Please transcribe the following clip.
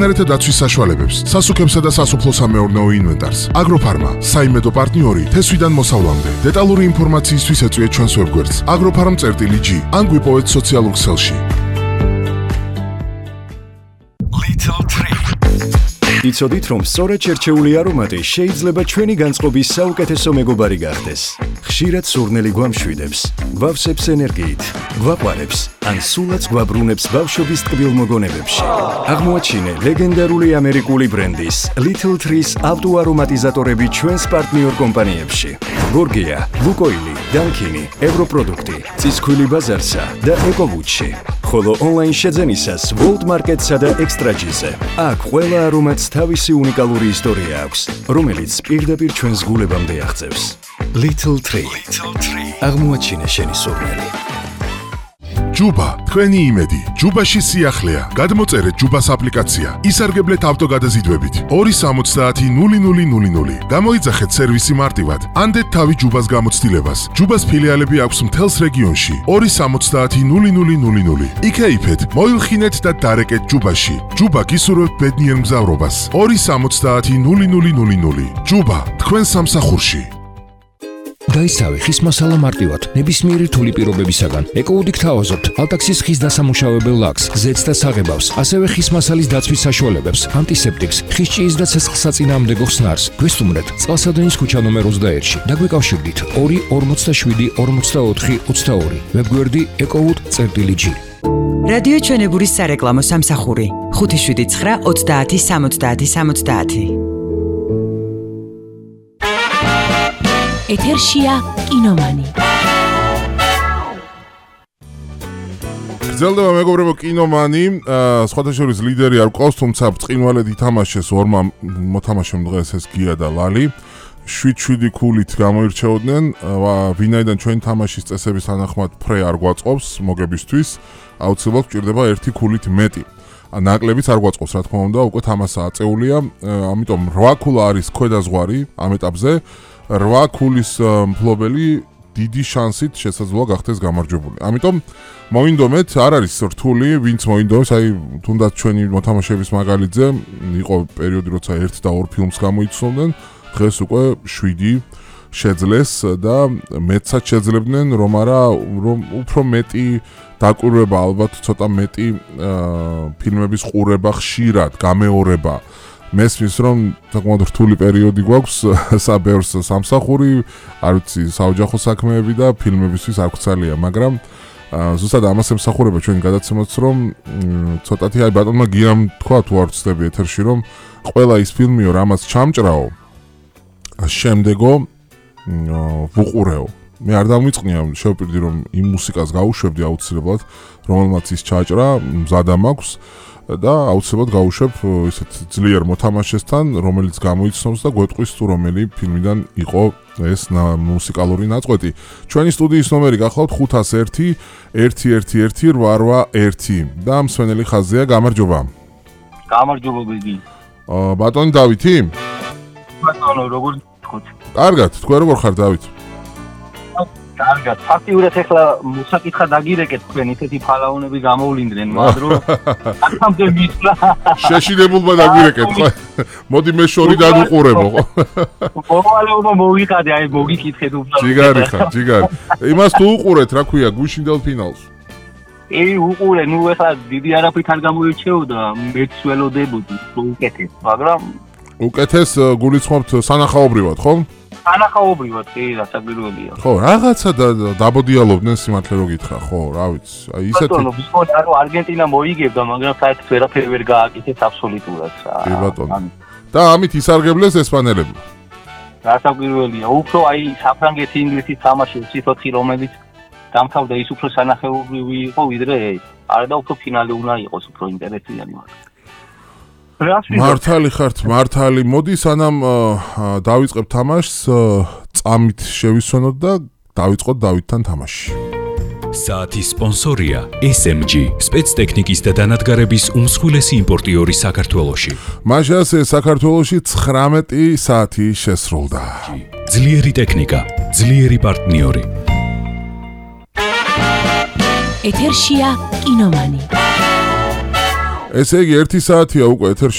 ნერეთა დაცვის საშუალებებს, სასუქებსა და სასოფლო-სამეურნეო ინვენტარს. აგროფარმა, საიმედო პარტნიორი თესვიდან მოსავლამდე. დეტალური ინფორმაციისთვის ეწვიეთ ჩვენს ვებგვერდს agroffarm.g ან გვიპოვეთ სოციალურ ქსელში. იცოდით, რომ სწორედ შერჩეული არომატი შეიძლება ჩვენი განწყობის საუკეთესო მეგობარი გახდეს. ხშირად სურნელი გვამშვიდებს, გვავსებს ენერგიით, გვაყვარებს, ან სულაც გვაბრუნებს ბავშვობის ტკბილ მოგონებებში. აღმოაჩინე ლეგენდარული ამერიკული ბრენდის Little Trees ავტოარომატიზატორები ჩვენს პარტნიორ კომპანიებში. გორგია, ლუკოილი, დანკინი, ევროპროდუქტი, წისქვილი ბაზარსა და ეკოვუჩი. ხოლო ონლაინ შეძენისას World Market-სა და Extra-G-ზე. აქ ყველა არომატს თავისი უნიკალური ისტორია აქვს, რომელიც პირდაპირ ჩვენს გულებამდე აღწევს. Little Tree. აღმოაჩინე შენი სურნელი. ჯუბა, თქვენი იმედი. ჯუბაში სიახლეა. გადმოწერეთ ჯუბას აპლიკაცია. ისარგებლეთ ავტოგადაზიდვებით. 270-0000. გამოიძახეთ სერვისი მარტივად. ანდეთ თავი ჯუბას გამოცდილებას. ჯუბას ფილიალები აქვს მთელს რეგიონში. 270-0000. იქეიფეთ, მოილხინეთ და დარეკეთ ჯუბაში. ჯუბა გისურვებთ ბედნიერ მგზავრობას. 270-0000. ჯუბა, თქვენ სამსახურში. გაიცავი ხის მასალა მარტივად, ნებისმიერი რთული პირობებისაგან. ეკოუდი გთავაზობთ ალტაქსის ხის დასამუშავებელ ლაქს, ზეთს და საღებავს, ასევე ხის მასალის დაცვის საშუალებებს, ანტისეპტიკს, ხის ჭიის და ცეცხლსაწინააღმდეგო ხსნარს. გვესტუმრეთ წყალსადენის ქუჩა ნომერ 21-ში და გვეკავშირდით 247-44-22. ვებგვერდი ecowood.g. რადიო ჩვენებურის სარეკლამო სამსახური 579-30-70-70. ეთერშია კინომანი. გრძელდება მეგობრებო კინომანი, სხვათა შორის ლიდერი არ გვყავს, თუმცა ბრწყინვალედ ითამაშეს ორმა მოთამაშემ დღეს ეს გია და ლალი. 7-7 ქულით გამოირჩეოდნენ, ვინაიდან ჩვენი თამაშის წესების თანახმად ფრე არ გვაწყობს მოგებისთვის, აუცილებლად გვჭირდება 1 ქულით მეტი. ნაკლებიც არ გვაწყობს, რა თქმა უნდა, უკვე თამაშა აწეულია, ამიტომ 8 ქულა არის ქვედაზღვარი ამ ეტაპზე. 8 ქულის მფლობელი დიდი შანსით შესაძლოა გახდეს გამარჯვებული. ამიტომ მოინდომეთ, არ არის რთული, ვინც მოინდომეს, აი თუნდაც ჩვენი მოთამაშეების მაგალითზე იყო პერიოდი, როცა 1 და 2 ფილმს გამოიცნობდნენ, დღეს უკვე 7 შეძლეს და მეცაც შეძლებდნენ, რომ უფრო მეტი დაკვირვება, ალბათ ცოტა მეტი ფილმების ყურება ხშირად, გამეორება. მესმის რომ საკმაოდ რთული პერიოდი გვაქვს საბეურს სამსახური, არ ვიცი, საოჯახო საქმეები და ფილმებისთვის არ გვცალია, მაგრამ ზუსტად ამას ემსახურება ჩვენი გადაცემაც, რომ ცოტათი აი ბატონმა გიამ თქვა თუ არ ვცდები ეთერში, რომ ყველა ის ფილმიო, რამაც ჩამჭრაო, შემდეგო ვუყურეო. მე არ დამიწყნია, შევპირდი რომ იმ მუსიკას გაუშვებდი აუცილებლად, რომელმაც ის ჩაჭრა, მზადა მაქვს. და აუცილებლად გავუშვებ ისეთ ძლიერ მოთამაშესთან, რომელიც გამოიცნობს და გვეტყვის თუ რომელი ფილმიდან იყო ეს მუსიკალური ნაწყვეტი. ჩვენი სტუდიის ნომერი გახლავთ 501-111-881 და მსვენელი ხაზია, გამარჯობა. გამარჯობა ბიგი. ბატონი დავითი? ბატონო, როგორ გქოთ? კარგად, თქვენ როგორ ხარ დავით? კარგად, ფაქტიურად ეხლა მოსაკითხა დაგირეკეთ თქვენ ისეთი ფალაუნები გამოვლინდნენ, მაგრამ აქამდე მისვლა. შეშინებულმა დაგირეკეთ, ხო? მოდი მე შორი დავუყურებო, ხო? მოვალეობა მოვიყადე, აი მოგიკითხეთ უბრალოდ. ჯიგარი ხარ, ჯიგარი. იმას თუ უყურეთ, რა ქვია, გუშინდელ ფინალს. უყურე, ნუ ეხლა დიდი არაფრით არ გამოირჩეოდა, მეც ველოდებოდი, უკეთეს, მაგრამ უკეთეს გულისხმობთ სანახაობრივად, ხო? სანახაობრივად, კი, რასაკვირველია. ხო, რაღაცა დაბოდიალობდნენ სიმართლე რო გითხრა, ხო, რა ვიცი. აი ისეთი. ბატონო, ვისმოდი, ანუ არგენტინა მოიგებდა, მაგრამ საერთოდ ვერაფერი ვერ გააკეთეს აბსოლუტურად. კი ბატონო. და ამით ისარგებლეს ესპანელები. რასაკვირველია, უფრო აი საფრანგეთი, ინგლისის თამაში 4, რომელიც დამთავრდა ის უფრო სანახაობრივი იყო, ვიდრე ეს. არა და უფრო ფინალი უნდა იყოს, უფრო ინტერესიანი მაგრამ. მართალი ხართ, მართალი. მოდი სანამ დავიწყებ თამაშს, წამით შევისვენოთ და დავიწყოთ დავითთან თამაში. საათის სპონსორია SMG, სპეცტექნიკის და დანადგარების უმსხვილესი იმპორტიორი საქართველოში. მაშასე საქართველოში 19 საათი შესრულდა. ძლიერი ტექნიკა, ძლიერი პარტნიორი. ეთერშია კინომანი. ესე იგი 1 საათია უკვე ეთერში